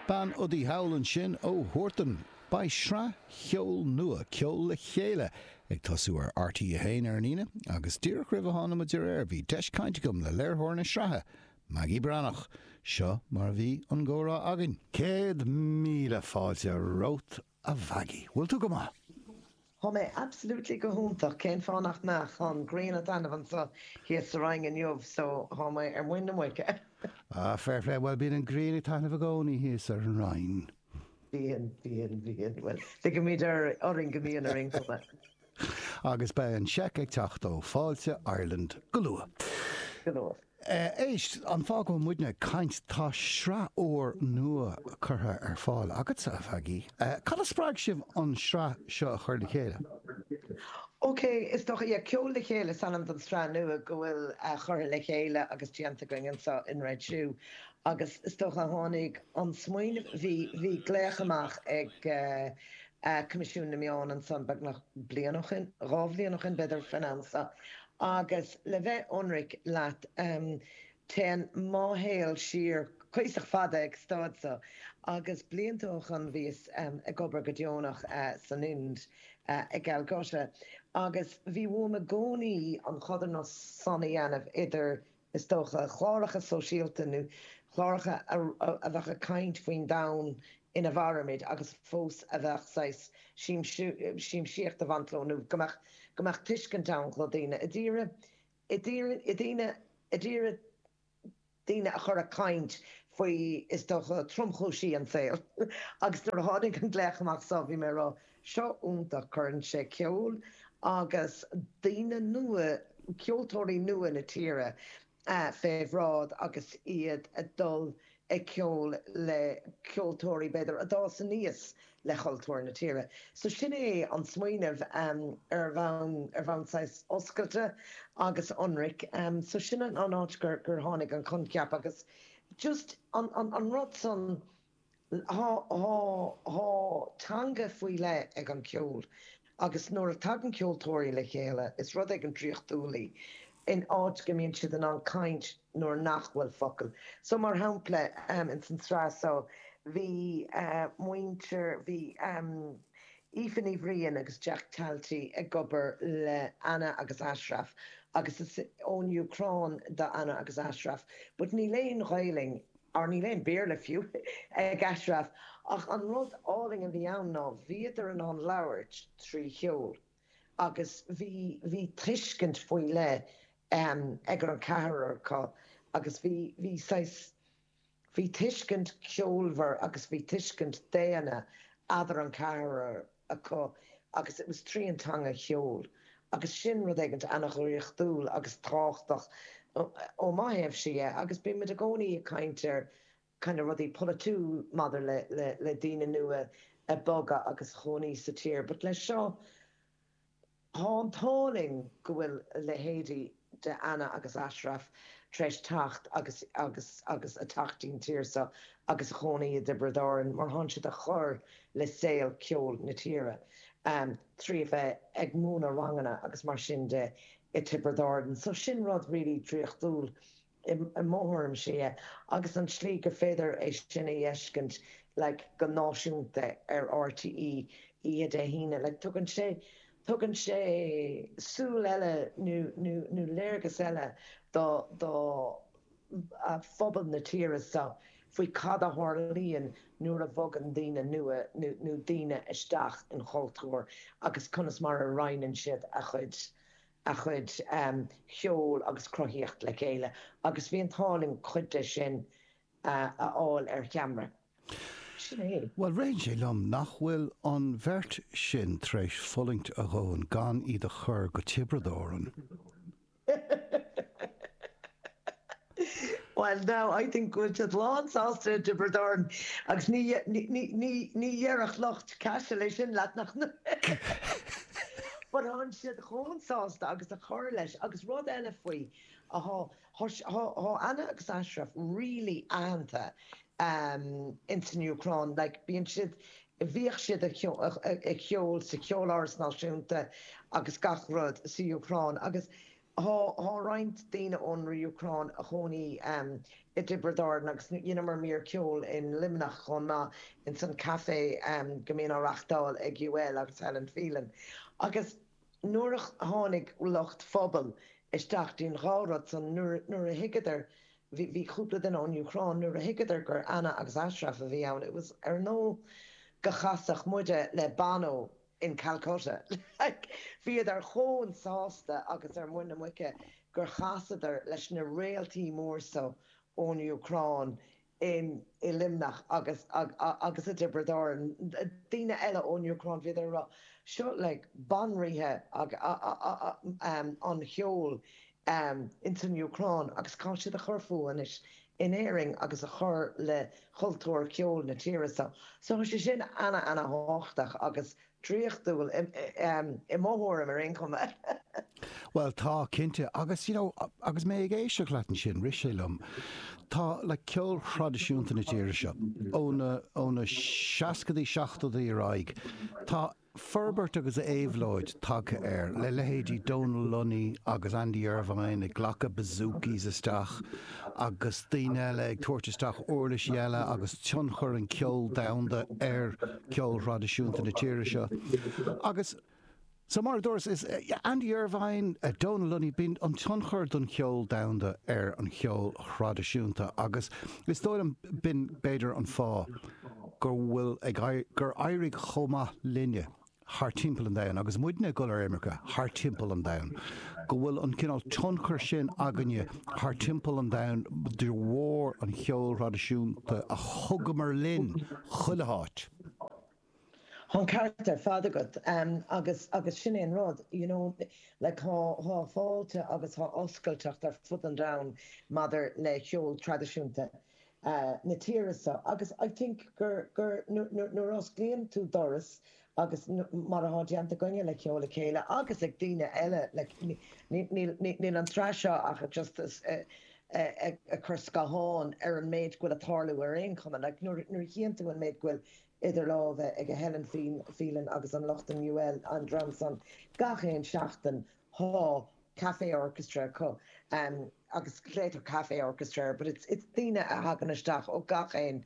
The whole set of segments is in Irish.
Bean udaí thall ansin ó Huartan. Beidh sraith cheoil nua, Ceol le Chéile, ag tosú ar RTÉ 1 ar an Aoine agus díreach roimh a tháinig muid ar aer bhí deis cainte agam le léiritheoir na sraithe, Maggie Breathnach. Seo mar a bhí an gcomhrá againn. 100,000 fáilte romhat a Mhaggie. Bhfuil tú go maith? Tá mé absolutely go hiontach, cén fáth nach mbeadh? Tá an ghrian ag taitneamh anseo thíos sa Rinn inniu so tá mé ar muin na muice. Ah, fair play, bhuel bíonn an ghrian ag taitneamh i gcónaí thíos ar an Rinn. Bíonn, bíonn, bíonn, bhuel ligimid orainn go mbíonn ar aon chuma. Agus beidh an seic ag teacht ó Fáilte Ireland go luath. Go luath. Éist, an fáth go bhfuil muidne ag caint, tá sraith úr nua curtha ar fáil agatsa, a Mhaggie. Cad a spreag sibh an sraith seo a chur le chéile? Ok, is dócha, yeah, Ceol le Chéile is ainm don sraith nua go bhfuil curtha le chéile agus déanta againn anseo in Red Shoe agus is dócha tháinig an smaoineamh, bhí, bhí glaoch amach ag Coimisiún na Meán ansan beagnach bliain ó shin, 2 bhliain ó shin b'fhéidir faoin am seo Agus le bheith ionraic leat, téann mo shaol siar cuíosach fada ag staid seo, agus blianta ó shoin bhíos ag obair go deonach san Ind i gCalcutta, agus bhí uaim i gcónaí an chodarsnacht san a dhéanamh idir, is dócha, cláracha sóisialta nó cláracha a bheadh ag caint faoin domhan ina mhairimid agus fós a bheadh saghas siamsaíocht ag baint leo nó go mbeadh go mbeadh tuiscint ann do dhaoine a d'iarraidh a d'iarraidh daoine a d'iarraidh daoine a chur ag caint faoi is dócha tromchúisí an tsaoil agus nuair a tháinig an glaoch amach seo bhí mé ag rá seo iontach cuireann sé ceol agus daoine nua ceoltóirí nua na tíre fé bhráid agus iad ag dul ag ceol le ceoltóirí, b'fhéidir, a d'fhás aníos le cultúr na tíre. So sin é an smaoineamh ar bhonn, ar bhonn saghas oscailte agus ionraic. So sin an áit gur, gur tháinig an coincheap agus just an, an, an rud san, Tá teanga faoi leith ag an cheol agus nuair a tagann ceoltóirí le chéile is rud éigin draíochtúil í in áit go mbíonn siad in ann caint nuair nach bhfuil focail. So mar shampla ins an tsraith seo bhí muintir, bhí Aoife Ní Bhriain agus Jack Talty ag obair le Anna agus Ashraf agus is ón Úcráin do Anna agus Ashraf but níl aon Ghaelainn or níl aon Béarla fiú ag Ashraf, ach an rud álainn a bhí ann ná bhíodar in ann labhairt trí cheol agus bhí, bhí tuiscint faoi leith ag an ceathrar acu agus bhí, bhí saghas, bhí tuiscint ceolmhar agus bhí tuiscint daonna eadar an ceathrar acu agus it was trí an teanga cheoil agus sin rud éigint ana-dhraíochtúil agus tábhachtach ó mo thaobhse dhe agus bíonn muid i gcónaí ag caint ar kind of rudaí polaitiúil maidir le le le daoine nua ag bogadh agus a chónaí sa tír but leis seo Tá an t-ádh linn go bhfuil leithéidí de Anna agus Ashraf tar éis teacht agus agus agus a teacht dtí'n tír seo agus a chónaí i dTiobraid Árann mar thánn siad a chur le saol ceoil na tíre trí a bheith ag múineadh ranganna agus mar sin de i Tiobraid Árann. So sin rud really draíochtúil i mo thuairimse é, agus an tslí gur féidir é sin a fheiscint like go náisiúnta ar RTÉ oíche Dé hAoine, like tugann sé, tugann sé súil eile nó, nó, nó léargas eile do, do phobal na tíre seo faoi cad a tharlaíonn nuair a bhogann daoine nua nó, nó daoine isteach in chultúr agus conas mar a roinneann siad a chuid a chuid cheoil agus cruthaíocht le chéile agus bhí an t-ádh linn cuid de sin a fháil ar cheamara. Sin é. Bhuel, ritheann sé liom nach bhfuil an bheirt sin tar éis fulaingt a dhóthain gan iad a chur go Tiobraid Árann. Well now, I think go bhfuil siad lán sásta i dTiobraid Árann agus ní, ní, ní, ní dhéarfadh lucht Caiseal é sin leat nach But thánn siad chomh sásta agus a chur leis agus rud eile faoi, thá, thá, thá Anna agus Ashraf really aitheanta ins an Úcráin, like bíonn siad, bhíodh siad ag ceol sa Cheoláras Náisiúnta agus gach rud sa Úcráin agus. Thá roinnt daoine ón Úcráin a chónaí i dTiobraid Árann agus dheineamar mír ceoil in Luimneach chomh maith ins an café go mbíonn á reachtáil ag UL agus Helen Phelan. Agus nuair a tháinig lucht Phobal isteach dtí'n dhá rud san nuair a thuigeadar, bhí cúpla duine ón Úcráin, nuair a thuigeadar gur Anna agus Ashraf a bhí ann, it was ar nós go chasfadh muide le Bono in Calcutta. Like, bhíodar chomh sásta agus ar muin na muice gur chasadar leis na réaltaí mór so ón Úcráin in i Luimneach agus agus i dTiobraid Árann. Daoine eile ón Úcráin, bhíodar ag rá, seo like banríthe an cheoil ins an Úcráin agus tá siad a chur fúthu anois in Éirinn agus a chur le cultúr ceoil na tíre seo. So tá sé sin ana ana thábhachtach agus draíochtúil i mo thuairim ar aon chuma. Bhuel tá, cinnte. Agus you know agus mé ag éisteacht leat ansin, rith sé liom, tá like ceol thraidisiúnta na tíre seo ó na ó na seascadaí, seachtóidí ar aghaidh, tá forbairt agus éabhlóid tagtha air, le leithéidí Dónal Lunny agus Andy Irvine ag glacadh bouzoukis isteach agus daoine eile ag tabhairt isteach uirlisí eile agus tionchar an ceol domhanda ar ceol thraidisiúnta na tíre seo. Agus so mar a dúras, is Andy Irvine, Dónal Lunny, bíonn an tionchar don cheol domhanda ar an cheol thraidisiúnta agus is dóigh liom b'in b'fhéidir an fáth go bhfuil ag gur éirigh chomh maith linne thar timpeall an domhain, agus muidne ag dul ar imirce thar timpeall an domhain, go bhfuil an cineál tionchar sin againne thar timpeall an domhain de bharr an cheoil thraidisiúnta a thugamar linn chuile háit. Tá an ceart ar fad agat agus agus sin é an rud, you know, like tá tá fáilte agus tá oscailteacht ar fud an domhain maidir le ceol traidisiúnta. na tíre seo agus I think gur, gur, nuair a osclaíonn tú doras agus mar atá déanta againne le Ceol le Chéile agus ag daoine eile like níl an tsraith seo ach just ag cur scáthán ar an méid go bhfuil ag tarlú ar aon chuma like nuair a chíonn tú an méid go bhfuil idir lámha ag Helen Phelan agus an lucht an UL an dream san gach aon seachtain Thá Café Orchestra acu agus glaotar Café Orchestra air but it's it's daoine a thagann isteach ó gach aon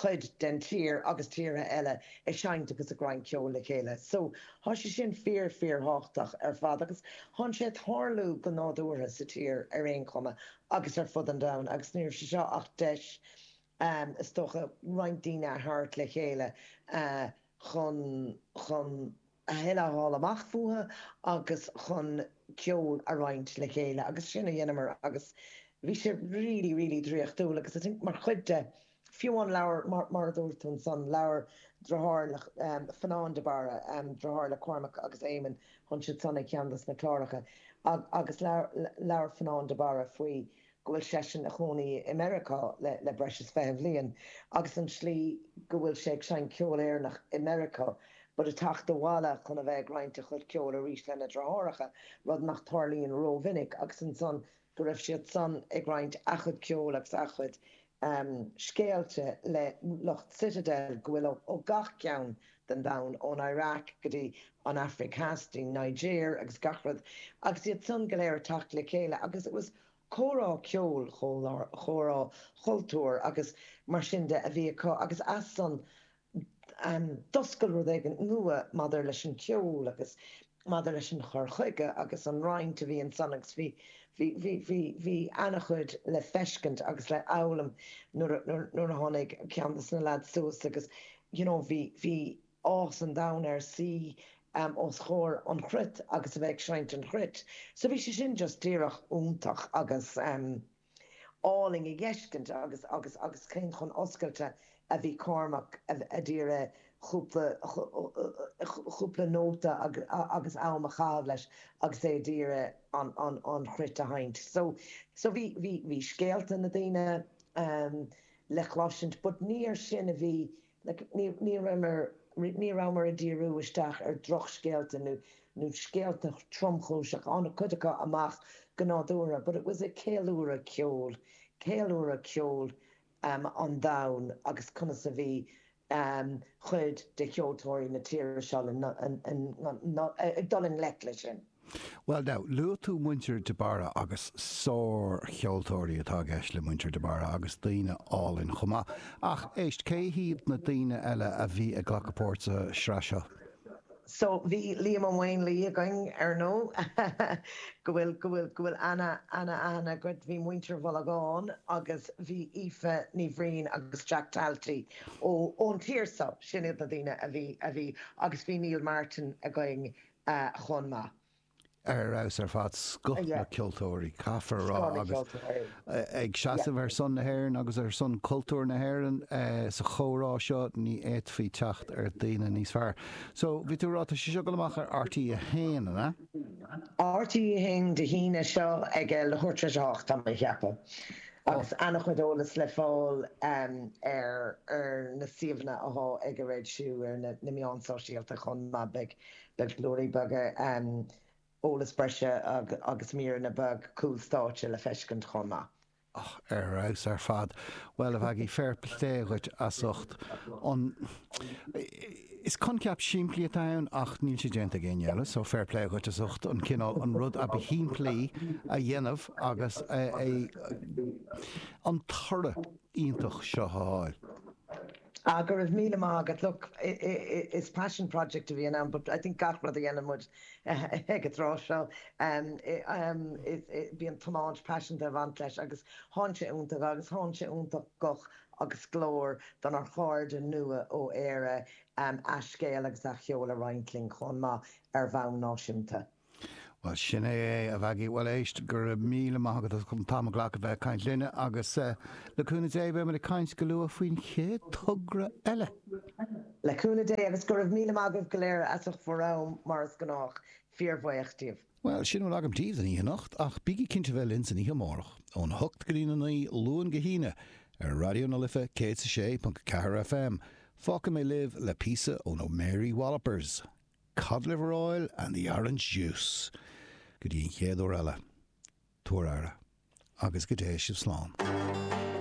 chuid den tír agus tíortha eile ag seinnt agus ag roinnt ceoil le chéile. So thá sé sin fíor fíor thábhachtach ar fad agus thánn sé ag tarlú go nádúrtha sa tír ar aon chuma agus ar fud an domhain agus ní raibh sé seo ach deis is dócha roinnt daoine a thabhairt le chéile chun chun a thuilleadh a fháil amach fúthu agus chun ceol a roinnt le chéile agus sin a dheineamar agus bhí sé really really draíochtúil agus I think mar chuid de, fiú an leabhar mar mar a dúirt tú ansan, leabhar deartháir le Fionán de Barra, deartháir le Cormac agus Éamonn, thánn siad san ag ceann dos na cláracha agus leabhar Fionán de Barra faoi go bhfuil seisean a chónaí i Meiriceá le breis is 20 bhliain agus an tslí go bhfuil sé ag seinnt ceol Éireannach i Meiriceá but ag teacht abhaile chun a bheith ag roinnt a chuid ceoil arís lena dheartháireacha, rud nach tarlaíonn rómhinic agus ansan go raibh siad san ag roinnt a chuid ceoil agus a chuid scéalta le lucht Citadel go bhfuil ó gach ceann den domhan, ón Iraq go dtí an Afraic Theas, dtí Niger agus gach rud, agus iad san go léir ag teacht le chéile agus it was comhrá ceoil, comhrá chultúir agus mar sin de a bhí acu agus as san d'oscail rud éigin nua maidir leis an cheol agus maidir leis an chur chuige agus an roinnt a bhí ansan agus bhí, bhí, bhí, bhí, bhí ana-chuid le feiscint agus le fhoghlaim nuair a, nuair a tháinig ceann de na lads suas agus you know bhí, bhí áthas an domhain air suí os comhair an chruit agus a bheith ag seinnt an chruit. So bhí sé sin just díreach iontach agus álainn a dh'fheiscint agus agus agus cén chomh oscailte a bhí Cormac a d'iarraidh chúpla chúpla nóta agus am a chaitheamh leis agus é d'iarraidh an an an chruit a sheinnt. So so bhí bhí bhí scéalta na daoine le cloisint but ní ar sin a bhí Like, ní, ní rabhamar, ní rabhamar ag díriú isteach ar drochscéalta nó, nó scéalta tromchúiseacha, tháinig cuid acu amach go nádúrtha, but it was a ceiliúradh ceoil, ceiliúradh ceoil um an domhain agus conas a bhí um chuid de cheoltóirí na tíre seo le, ag dul i ngleic leis sin. Bhuel now, luaigh tú muintir de Barra agus sár-cheoltóirí atá i gceist le muintir de Barra agus daoine álainn chomh maith. Ach éist, cé hiad na daoine eile a bhí ag glacadh páirt sa sraith seo? So bhí Liam Ó Maonlaí againn ar ndóigh, go bhfuil, go bhfuil, go bhfuil ana, ana-aithne agat, bhí muintir Mhullagáin agus bhí Aoife Ní Bhriain agus Jack Talty ó, ón tír seo, sin iad na daoine a bhí, a bhí agus bhí Neil Martin againn chomh maith. Ar fheabhas ar fad, scoth na ceoltóirí, caithfear a rá, agus ag seasamh ar son na hÉireann agus ar son cultúr na hÉireann sa chomhrá seo, ní fhéadfaí teacht ar daoine níos fearr. So, bhí tú ag rá, tá sé seo ag dul amach ar RTÉ 1, an ea? RTÉ 1 Dé hAoine seo ag leathuair tar éis a hocht, tá mé a cheapadh. Agus an-chuid eolas le fáil ar na suíomhanna athá ag a Red Shoe ar na meáin sóisialta chomh maith. Beidh beidh blúirí beaga, eolas breise agus míreanna beag cúl stáitse le feiscint chomh maith. Ach ar fheabhas ar fad. Bhuel, a Mhaggie, fair plé dhuit as ucht an. Is coincheap simplí atá ann ach níl sé déanta ag éinne eile, so fair plé dhuit as ucht an cineál, an rud a ba shimplí a dhéanamh agus é, an toradh iontach seo a fháil. Ah, go raibh míle maith agat. Look, is passion project a bhí ann, but I think gach rud a dhéanann muid ag an tráth seo, bíonn tiomáint paiseanta ag baint leis agus thá sé iontach agus thá sé iontach guth agus glór donár chairde nua ó Éire a scéal agus a cheol a roinnt linn chomh maith ar bhonn náisiúnta. Bhuel, sin é é, a Mhaggie. Bhuel, éist, go raibh míle maith agat as an t-am a ghlacadh bheith ag caint linne agus le cúnamh Dé beimid ag caint go luath faoin chéad togra eile. Le cúnamh Dé agus go raibh míle maith agaibh go léir as ucht bhur am mar is gnách. Fíorbhuíoch díobh. Bhuel, sin a bhfuil agam daoibh don oíche anocht, ach bígí cinnte bheith linn san oíche amárach, ón 8 go dtí'n 9, Luan go hAoine, ar Raidió na Life 106.4 FM. Fágfaidh mé libh le píosa ó na Mary Wallopers, Cod Liver Oil and the Orange Juice. Go dtí an chéad uair eile, tabhair aire, agus go dté sibh slán.